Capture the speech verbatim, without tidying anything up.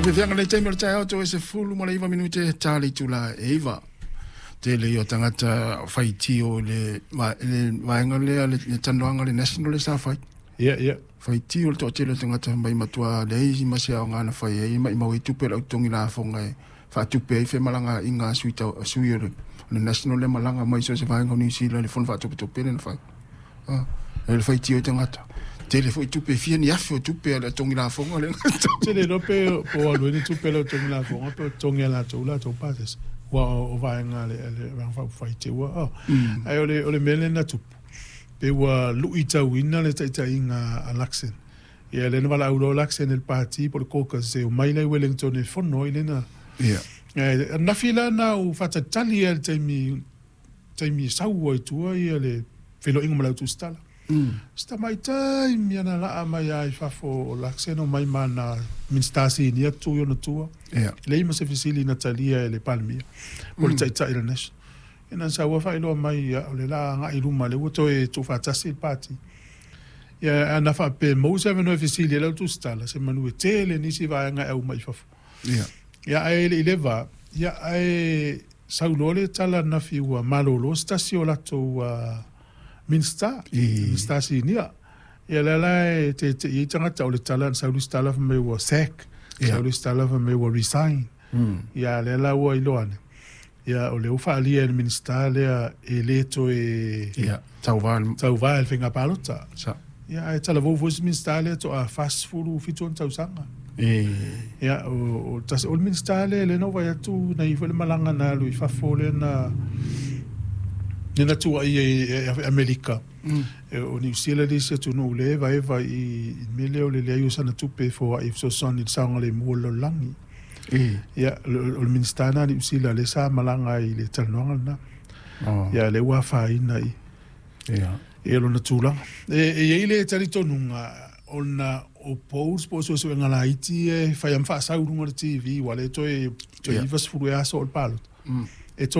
Feafeaga le taimi o le taeao toe sefulu ma le iva minute ta le itula e iva. Tele ia o tagata faitio i le le vaega lea le talanoaga le National le sa fai. Ia, ia. Faitio le toatele o tagata mai matua leai ma se aoga na fai ai maimau ai tupe a le au totogi lafoga e faatupe ai femalagaaiga a sui tau sui o le National le malaga mai so o se vaega o Niu Sila i le fono faatopetope lea na fai. Ah, le faitio ai tagata. Tele foi tupe, fia ni afe o tupe a le totogi lafoga lea. Tele iloa pe po o alu ai ni tupe a le totogi lafoga pe o totogi e latou latou pasese. Ua o vaega a le Vaega Faaupufai te ua oh. Ae o le o le mea lea na tupu, pe ua luitauina le taitaiga a Luxon. Ia lea na valaau loa Luxon e le pati po o le caucus e omai la i Wellington e fono ai lena. Ia. Ae ananafi la na ou faatalitali lava i le taimi taimi e sau ai i tua ia le feiloaiga ma le au tusitala. Mm. Si tamaitai mea na laa mai lava i fafo o Luxon omai ma ana Minisita Sinia tu i ona tua. Ia. Leai ma se fesili na talia e le Palemia po o le Taitai o le National. Ia na sau lava faailoa mai ia o le la agai i luma lea ua toe tuufaatasi le Pati. Ia ana faapea e maua se avanoa e fesili ai le au tusitala, semanu e tele nisi vaega e aumai i fafo. Ia. Ia ae le i leva, ia ae sau loa le tala ananafi ua malolo se tasi o latou Minisita, Minisita Sinia. Ia lea la e tete'i ai tagata, o le tala na sau le isi tala fai mai ua sack, sau le isi tala fai mai ua resign. Ia a lea la ua iloa ane, ia o lea ua faaalia e le Minisita lea e le toe Ia, tauva tauva i le faiga palota. Sa. Ia ae talavou foi si Minisita lea toa fasefulu fitu ona tausaga. E. Ia o o tasi o le Minisita lea lea na ou vaai atu na i ai foi le malaga na alu i fafo lea na lea na tuuaia i Amerika. O Niu Sila le isi atunuu lea e evaeva i le mea lea o le leai o sana tupe e foai e fesoasoani i le saogalemu o le lalolagi. Ia, o le Minisita lena a Niu Sila lea sa malaga ai i le talanoaga lena. Ia, lea ua afaina i i lona tulaga. E i ai le talitonuga ona o polls po o suesuega laiti ia e fai lava ma faasau i luga o le T V aua o lea e toe iva sefulu ea aso o le palota, e toe